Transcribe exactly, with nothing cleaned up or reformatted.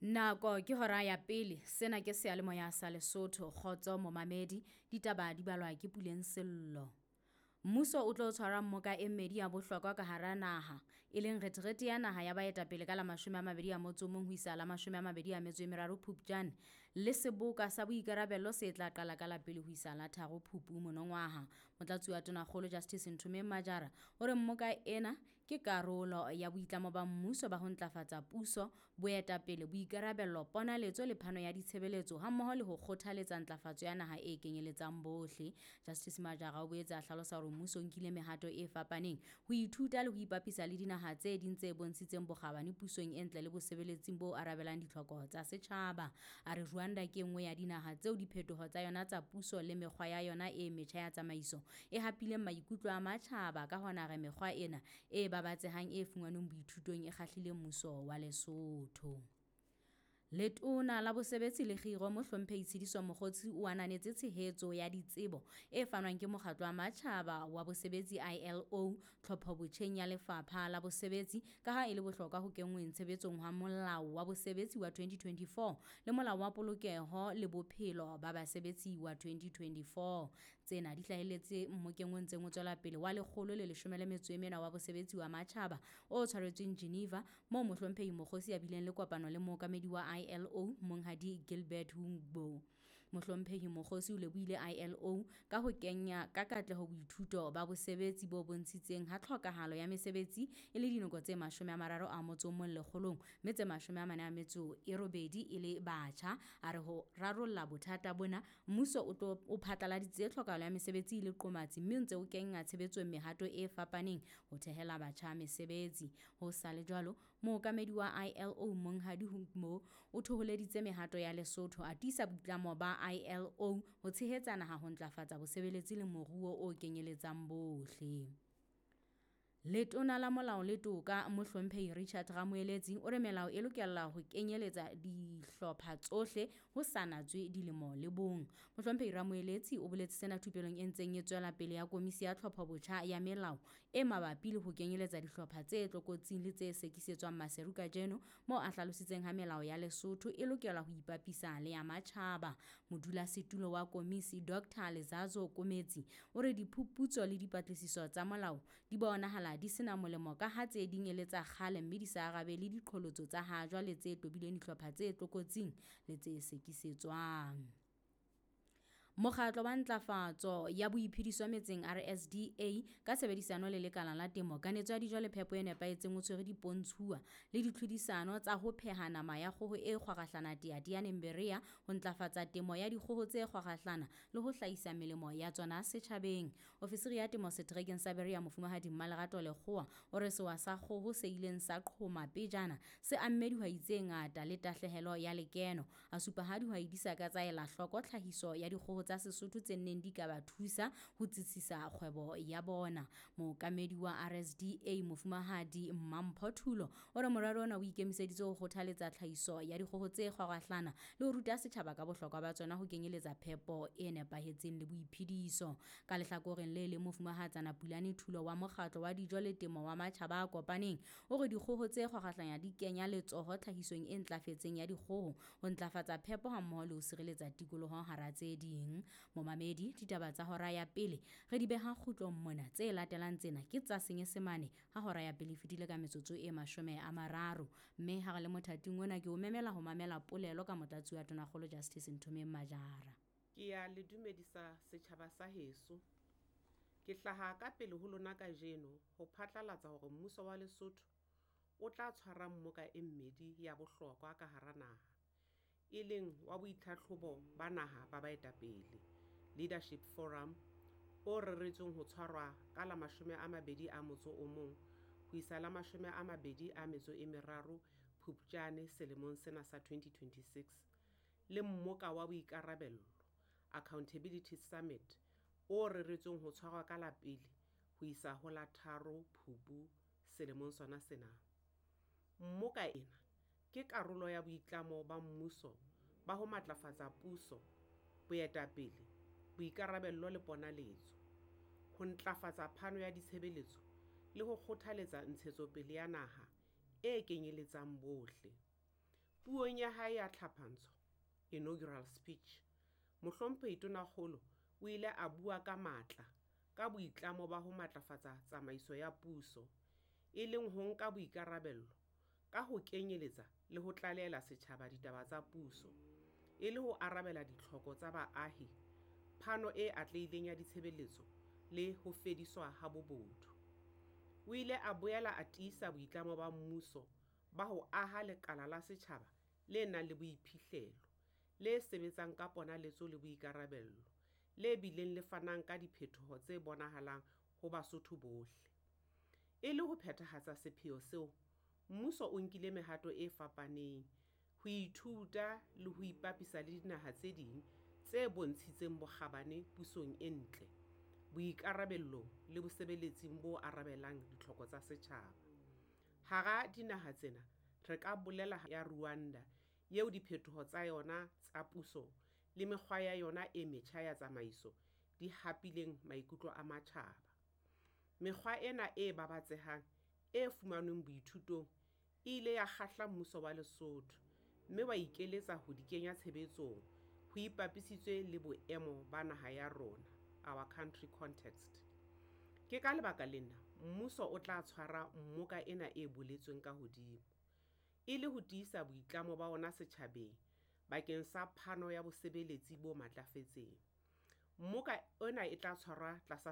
Nako ke hora ya pele, sena ke seyalemoya sa Lesotho, kgotso momamedi, ditaba di balwa ke Puleng Sello. Mmuso o tlo tshwara mmoka e mmedi ya bohlokwa ka hara naha, e leng retirete ya naha ya baetapele ka la mashome a mabedi a motso o mong ho isa la mashome a mabedi a metso e meraro Phupjane le seboka sa boikarabello se tla qala ka la pele ho isa la tharo Phupu monongwaha. Motlatsi wa Tonakgolo Justice Nthomeng Majara o re mmoka ena ke karolo ya boitlamo ba mmuso ba ho ntlafatsa puso, boetapele, boikarabello, ponaletso le phano ya ditshebeletso hammoho le ho kgothaletsa ntlafatso ya naha e kenyeletsang bohle. Justice Majara o boetse a hlalosa hore mmuso o nkile mehato e fapaneng ho ithuta le ho ipapisa le dinaha tse ding tse bontshitseng bokgabane pusong e ntle le bosebeletsing bo arabelang ditlhoko tsa setjhaba. A re Rwanda ke e nngwe ya dinaha tseo diphetoho tsa yona tsa puso le mekgwa ya yona e metjha ya tsamaiso e hapileng maikutlo a matjhaba. Ka hona re mekgwa ena e babatsehang e fumanweng boithutong e kgahlile mmuso wa Lesotho. Letona la Bosebetsi le Kgiro Mohlomphehi Tshediso Mokgotsi o ananetse tshehetso ya ditsebo e fanwang ke Mokgatlo wa Matjhaba wa Bosebetsi I L O tlhophobotjheng ya Lefapha la Bosebetsi ka ha e le bohlokwa ho kenngweng tshebetsong ha Molao wa Bosebetsi wa twenty twenty-four le Molao wa Polokeho le Bophelo ba Basebetsi wa twenty twenty-four. Tsena di hlahelletse mmokeng o ntseng o tswela pele wa lekgolo le leshome le metso e mene wa Bosebetsi wa Matjhaba o tshwaretsweng Geneva moo Mohlomphehi Mokgotsi a bileng le kopano le mookamedi wa I L O Monghadi Gilbert Houngbo. Mohlomphehi Mokgotsi o lebohile I L O ka ho kenya ka katleho boithuto ba bosebetsi bo bontshitseng ha tlhokahalo ya mesebetsi e le dinoko tse mashome a mararo a motso o mong lekgolong mme tse mashome a mane a metso e robedi e le batjha. A re ho rarolla bothata bona mmuso o tlo o phatlaladitse tlhokahalo ya mesebetsi e le qomatsi mme o ntse o kenya tshebetsong mehato e fapaneng ho thehela batjha mesebetsi. Ho sa le jwalo, mookamedi wa I L O Monghadi Houngbo o thoholeditse mehato ya Lesotho a tiisa boitlamo ba I L O ho tshehetsa naha ho ntlafatsa bosebeletsi le moruo o kenyeletsang bohle. Letona la Molao le Toka Mohlomphehi Richard Ramoeletsi o re melao e lokela ho kenyeletsa dihlopha tsohle ho sa natswe dilemo le bong. Mohlomphehi Ramoeletsi o boletse sena thupelong e ntseng e tswela pele ya komisi ya tlhophobotjha ya melao e mabapi le ho kenyeletsa dihlopha tse tlokotsing le tse sekisetswang Maseru kajeno, moo a hlalositseng ha melao ya Lesotho e lokela ho ipapisa le ya matjhaba. Modulasetulo wa komisi Doctor Lezazo Kometsi o re diphuputso le dipatlisiso tsa molao di bonahala di sena molemo ka ha tse ding e le tsa kgale mme di sa arabele diqholotso tsa ha jwale tse tobileng dihlopha tse tlokotsing le tse sekisetswang. Mokgatlo wa Ntlafatso ya Boiphediso Metseng R S D A ka tshebedisano le Lekala la Temo, Kanetso ya Dijo le Phepo e Nepahetseng o tshwere dipontshuwa le ditlhodisano tsa ho pheha nama ya kgoho e kgwarahlana Teyateyaneng Berea ho ntlafatsa temo ya dikgoho tse kgwarahlana le ho hlahisa melemo ya tsona setjhabeng. Ofisiri ya temo seterekeng sa Berea Mofumahadi Mmalerato Lekgowa o re sewa sa kgoho se ileng sa qhoma pejana se amme dihwai tse ngata le tahlehelo ya lekeno. A supa ha dihwai di sa ka tsa ela hloko tlhahiso ya dikgoho tsa Sesotho tse neng di ka ba thusa ho tsitsisa kgwebo ya bona. Mookamedi wa R S D A Mofumahadi Mampho Thulo o re morero ona o ikemiseditse ho kgothaletsa tlhahiso ya dikgoho tse kgwarahlana le ho ruta setjhaba ka bohlokwa ba tsona ho kenyeletsa phepo e nepahetseng le boiphediso. Ka lehlakoreng le leng, Mofumahatsana Pulane Thulo wa Mokgatlo wa Dijo le Temo wa Matjhaba a Kopaneng o re dikgoho tse kgwarahlana di kenya letsoho tlhahisong e ntlafetseng ya dikgoho ho ntlafatsa phepo hammoho le ho sireletsa tikoloho hara tse ding. Momamedi, ditaba tsa hora ya pele re di beha kgutlong mona. Tse latelang tsena ke tsa Senyesemane ha hora ya pele e fetile ka metsotso e mashome a mararo. Mme ha re le mothating ona ke o memela ho mamela polelo ka motlatsi wa Tonakgolo Justice Nthomeng Majara. Ke ya le dumedisa setjhaba sa heso. Ke hlaha ka pele ho lona kajeno ho phatlalatsa hore mmuso wa Lesotho o tla tshwara mmoka e mmedi ya bohlokwa ka hara naha, e leng wa boitlhatlhobo ba naha ba baetapele Leadership Forum o reretsweng ho tshwarwa ka la mashome a mabedi a motso o mong ho isa la mashome a mabedi a metso e meraro Phupjane selemong sena sa twenty twenty-six, le mmoka wa boikarabello Accountability Summit o reretsweng ho tshwarwa ka la pele ho isa ho la tharo Phupu selemong sona sena. Mmoka ena ke karolo ya boitlamo ba mmuso ba ho matlafatsa puso, boetapele, boikarabello le ponaletso, ho ntlafatsa phano ya ditshebeletso le ho kgothaletsa ntshetsopele ya naha e kenyeletsang bohle. Puong ya hae ya tlhapantsho, inaugural speech, Mohlomphehi Tonakgolo o ile a bua ka matla ka boitlamo ba ho matlafatsa tsamaiso ya puso, e leng ho nka boikarabelo ka ho kenyeletsa le ho tlalehela setjhaba ditaba tsa puso, e le ho arabela ditlhoko tsa baahi, phano e atlehileng ya ditshebeletso le ho fediswa ha bobodu. O ile a boela a tiisa boitlamo ba mmuso ba ho aha lekala la setjhaba le nang le boiphihlelo, le sebetsang ka ponaletso le boikarabelo, le bileng le fanang ka diphetoho tse bonahalang ho Basotho bohle. E le ho phethahatsa sepheo seo, mmuso o nkile mehato e fapaneng ho ithuta le ho ipapisa le dinaha tse ding tse bontshitseng bokgabane pusong e ntle, boikarabellong le bosebeletsing bo arabelang ditlhoko tsa setjhaba. Hara dinaha tsena re ka bolela ya Rwanda eo diphetoho tsa yona tsa puso le mekgwa ya yona e metjha ya tsamaiso di hapileng maikutlo a matjhaba. Mekgwa ena e babatsehang e fumanweng boithutong e ile ya kgahla mmuso wa Lesotho mme wa ikekeletsa ho di kenya tshebetsong ho ipapisitswe le boemo ba naha ya rona, our country context. Ke ka lebaka lena mmuso o tla tshwara mmoka ena e boletsweng ka hodimo, e le ho tiisa boitlamo ba ona setjhabeng bakeng sa phano ya bosebeletsi bo matlafetseng. Mmoka ena e tla tshwarwa tlasa